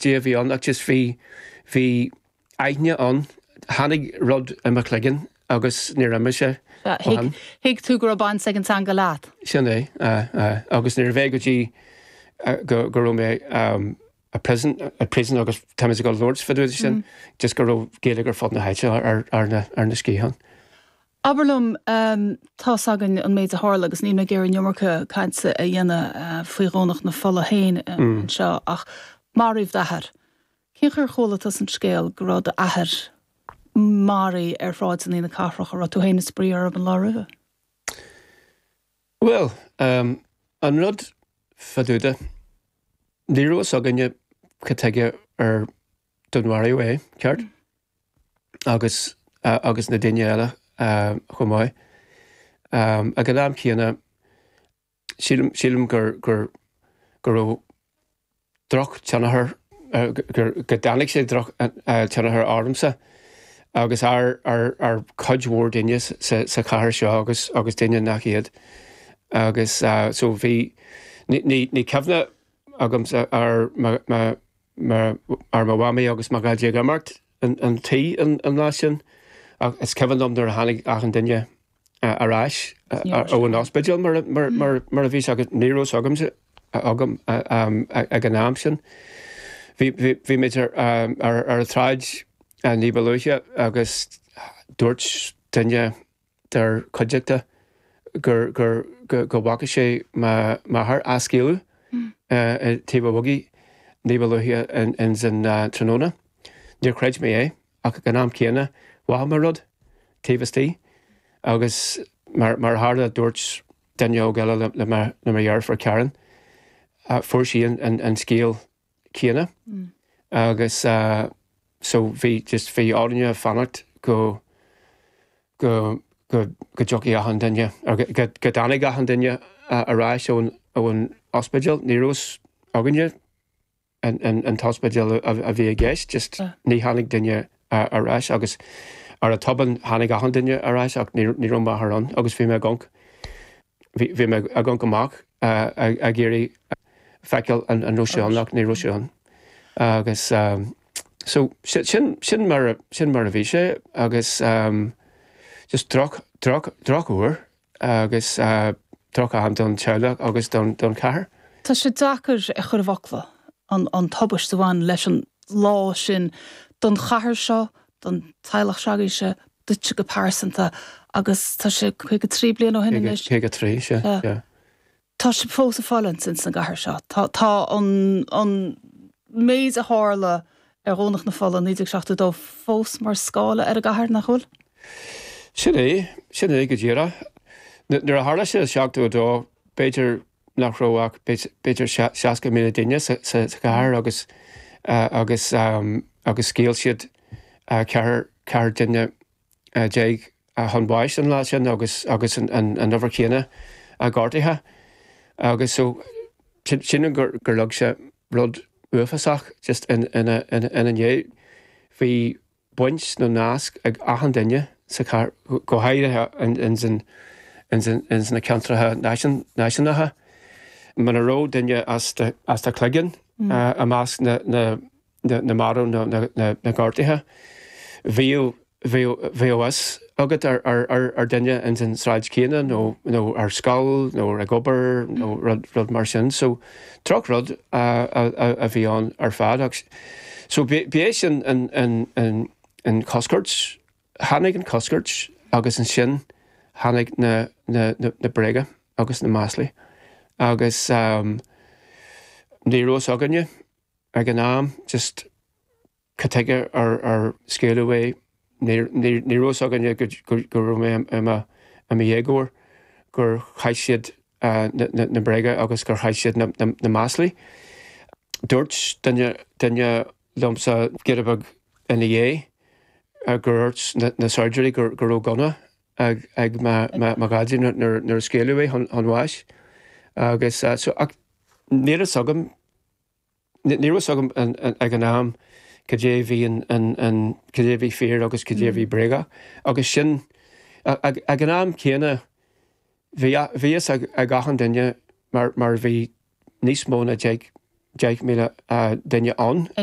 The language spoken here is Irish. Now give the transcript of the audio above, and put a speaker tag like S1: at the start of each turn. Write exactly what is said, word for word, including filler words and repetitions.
S1: cad é a bhí ann ach just bhí bhí aithne ann tháinig rud i mo chloigeann agus níor imigh sé
S2: Thuig tú go raibh baint ag an teanga leat.
S1: Sin é agus ní bheith go dtí go go raibh mé um, a prison a prison agus tá go Lords fá sin just go raibh Gaeilge ar fud na háite ar ar na ar na sciatháin.
S2: Abair liom um, tá againn an méid a tharla agus ní ag iarraidh an iomarca cainte a dhéanamh uh, faoi Dhomhnach na Fola féin uh, mm. seo ach maraíodh d'athair. Cén chaoi ar chuala tú an scéal go raibh d'athair maraithe ar shráideanna na cathrach a raibh tú féin ag spraoi ar an lá roimhe?
S1: Well, um, an rud fadúda ní raibh againne cad chuige ar dúnmharaíodh é ceart mm. agus uh, agus na daoine eile uh, chomh maith. Um, ag an am céanna sílim sílim gur gur go raibh drochthionchar uh, gur go dtáinig sé drochthionchar ormsa agus ar ar ar cuid mhór daoine sa, sa chathair seo agus agus daoine nach iad agus uh, so bhí ní, ní, ní cuimhne agam ar ma, ma, ma, ar mo mhamaí agus mo dhaidí ag imeacht an, an tí an, an lá sin ach is cuimhin liom nuair a tháinig achan duine ar ais ó an ospidéal mar, mar, mar, mar a bhí agus ní raibh agamsa agam ag an am sin. Bhí mé ar ar ar an tsráid ní ba luaithe agus dúirt duine dár cuideachta gur gur go go bhfaca sé m'athair á scaoileadh taobh an bhogaigh ní ba luaithe in san tráthnóna. Níor chreid mé é ach ag an am céanna mhothaigh mé rud taobh istigh agus mar mar tharla dúirt duine óg eile le le le mo dheirfiúr Karen fuair sí an, an, an scéal céanna mm. agus uh, so bhí just bhí orainne fanacht go go go go dtiocfaidh achan duine go go dtáinig achan duine ar ais ón ón ospidéal ní raibh againne an, an, an t-ospidéal a bhí i gceist just uh. ní tháinig duine ar ais agus ar a tobann tháinig achan duine ar ais ach ní raibh m'athair ann agus bhí mé ag amharc bhí mé ag amharc amach ag iarraidh feiceáil an an raibh sé ann ach ní raibh sé ann agus um, so sin sin mar sin mar a bhí sé agus um, just droch droch drochthuar agus uh, droch-am don teaghlach agus don don chathair.
S2: Tá sé deacair a chur i bhfocla an an tubaiste a bhain leis an lá sin don chathair seo don teaghlach s'agaibhse duit go pearsanta agus tá sé caoga trí bliana ó shin
S1: Caoga trí sé.
S2: Tá sé fós ag fulaingt ins an gcathair seo. Tá tá an an méid a tharla ar Dhomhnach na Fola naoi déag seachtó dó fós mar scáile ar an gcathair nach bhfuil?
S1: Sin é sin é go díreach. Nuair a tharla sé seachtó dó b'fhéidir nach raibh ach b'fhéidir seasca míle duine sa chathair agus agus um, agus scaoil siad ceathrar ceathrar duine déag chun báis an lá sin agus agus an an an uimhir chéanna a gortaithe agus so sin gur gur leag sé rud uafásach just in ina ina ndiaidh bhí baint nó nasc ag achan duine sa chathair go háirithe in in na ceantracha náisiúnacha. Muna raibh duine as as do chloigeann mm. i measc na na na marbh na na na gortaithe. Bhí bhí fhios agat ar ar ar ar duine in san sráid céanna nó nó ar scoil nó ag obair nó rud rud mar sin, so drochrud a, a, a, a bhí ann ar fad ach so b'é sin an an an an coscairt tháinig an coscairt agus ansin tháinig na na na, na bréaga agus na maslaí agus um, ní raibh againne ag an am just cad chuige ar ar scaoileadh é ní raibh againne go raibh mé i mo dhéagóir gur chaith siad uh, na, na, na bréaga agus gur chaith siad na, na, na maslaí. Dúirt duine duine liomsa giota beag ina dhiaidh gur dhúirt na, na saighdiúirí gur go raibh gunna ag ag mo dhaidí nuair a scaoileadh é chun bháis agus uh, so ach ní raibh agam ní raibh agam ag an am cad é bhí an cad é bhí fíor agus cad é bhí bréagach agus sin ag an am céanna bhí fhios ag achan duine mar mar bhí níos mó ná deich deich míle duine ann.